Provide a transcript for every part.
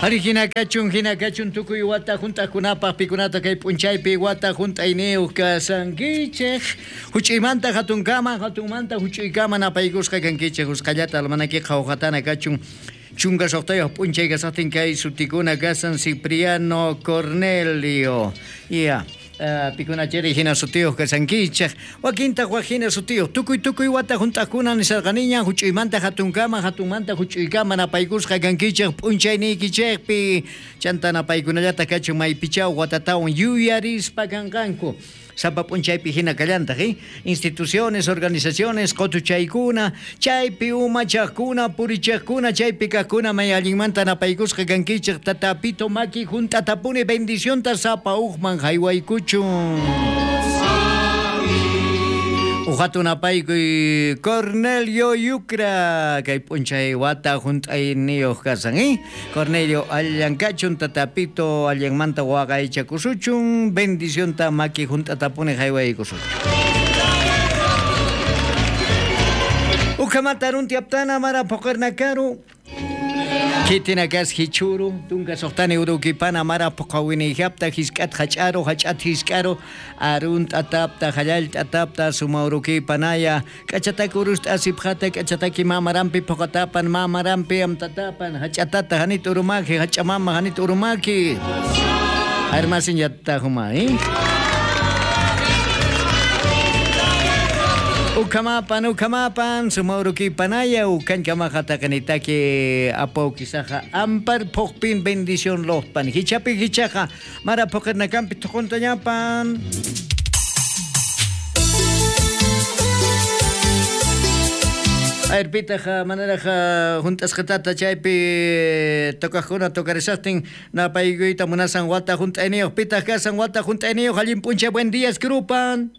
Ari hina kachun, hina kachun tukuy wata hunt'aqkunapaq pikunata kay p'unchaypi wata hunt'ayniyuq kasankichej. Huch'uymanta hatunkama, hatunmanta huch'uykama napaykusqa kankichej. Usqhallata almanaki qhawqatana kachun. 16 p'unchay kasaqtin kay sutikuna kasan Cipriano Cornelio. Ya. Pikunachari hina sutiyuq kasankichej. Wakintaq wak hina sutiyuq. Tukuy tukuy wata hunt'aqkuna nisarqaniña huch'uymanta hatunkama, hatunmanta huch'uykama napaykusqa kankichej p'unchayniykichejpi. Chanta napaykunallata kachun maypichaw watatawan yuyarispa kanqanku. Sapa p'unchaypi hina kallantaq, Instituciones, organizaciones, qotuchaykuna, chaypi umachaqkuna, purichaqkuna, chaypi kaqkuna may allinmanta napaykusqa kankichej. Tatapito maki hunt'atapuni bendicionta sapa uqman haywaykuchun. Uqatu napaykuy Cornelio Yucra kay p'unchay wata hunt'ayniyuq kasan, Cornelio allan kachun tatapito allanmanta waqaychakusuchun bendicionta maki hunt'atapuni haywaykusuchun. Uqamata runtiaptana mara poqernakaru Kitinakas hichuru, tunka soqtani urukipana mara poqawinijapta hisk'at hach'aru, hach'at hisk'aru, arunt atapta, hallalt atapta, suma urukipanaya, k'achataki urust asipjata, k'achataki mamarampi poqatapan, mamarampi amtatapan, hach'atata hanit urumaki, hach'amama hanit urumaki. Armasin yattahuma, Ukamapan, ukamapan, sumaurukipanaya, ukankamaja apaukisaja, ampar pokpin bendición lohpan, hichapi hichaja, mara pokernakampi tokontañapan. Ayr manaraja juntasqatata chaypi tocajkuna tocarisaqtin napaykuyta munasan wata junt'ayniyuq pitaq kasan wata junt'ayniyuq allin p'unchay buen días krupan.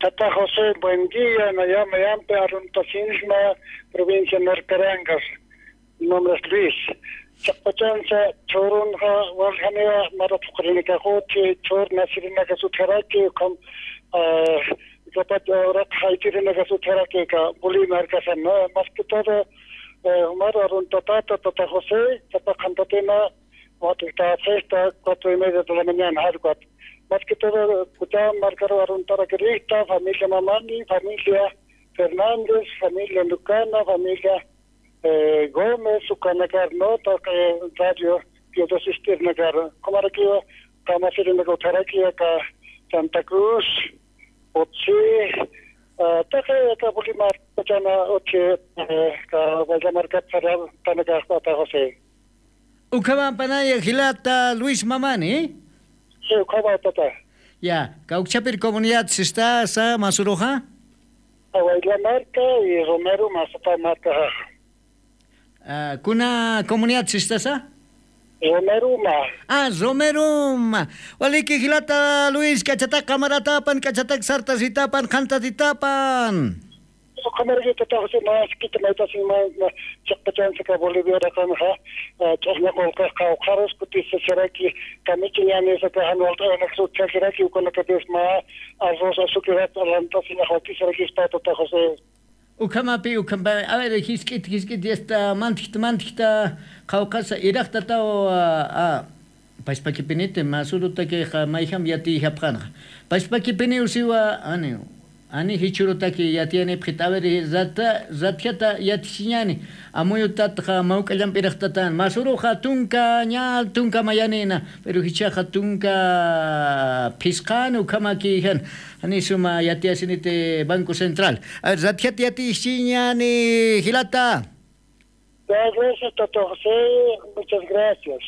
Tata José, buen día. Me llamo Yampe Aruntasinma, provincia de Norcarangas. Mi nombre es Luis. Chapachanza, Chorunja, Waljanea, Marapukrinacajoche, Chor, Nasirinacasutaraki, con Zapato, Haitirinacasutaraki, Boli Marcasan, más que todo, Omar Aruntatata, Tata José, Zapacantatena, Huatulta, 4:30 de la mañana, Harcuat. Más que todo, Marcaro Aruntara Querista, familia Mamani, familia Fernández, familia Lucana, familia Gómez, Ucanacar, Nota, Radio, Piedosistirnacar, Comaraquía, Camasirinacotaraqui, Santa Cruz, Otsi, Taja, Cabulimar, Pachana, Otsi, Guayamarca, Tanacar, José. Ucamampanaya, Gilata, Luis Mamani, Sí, tata. Ya, Cauchapir comunidad se está sa Masuroja. Marca y Romero Mazapa Marca. Kuna comunidad se está sa? Romeruma. Ah, Romeruma. Waliki Gilata Luis, cachatac camaratapan, cachatac sartasitapan, jantatitapan. Kamarita tata más kita maitasin ma chaqpachansa Bolivia raqamja ch'aqñaqulqa qawqaros kutisasaraki kamichiñanisaka hanwalt'anaqsu chakiraki ukunakapis ma arroz azukirat alantasin aqwatisaraki tata José. Ukamapi ukampa a ver hisk'it hisk'it esta mantikta mantikta qawqasa iraqta taw a pashpakipinite masurutaki mayham yati hapqanqa pashpakipini usiwa ani ani hichurutaki yatiani pqita a ver rata ratjata yatishiñani amuyutatqa mawk'allanpi iraqtatan masuruqa tunka ña tunka mayanina pero hichaqa tunka phisqani ukamakijan ani suma yatiasinite Banco Central. A ver, ratjata yatishiñani Gilata. Gracias, Tata José, muchas gracias.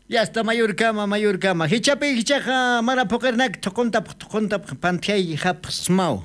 Ya está mayorkama, mayorkama. Hichapi hichaqa mara poqernak toqontap toqontap pantiay hapsmau.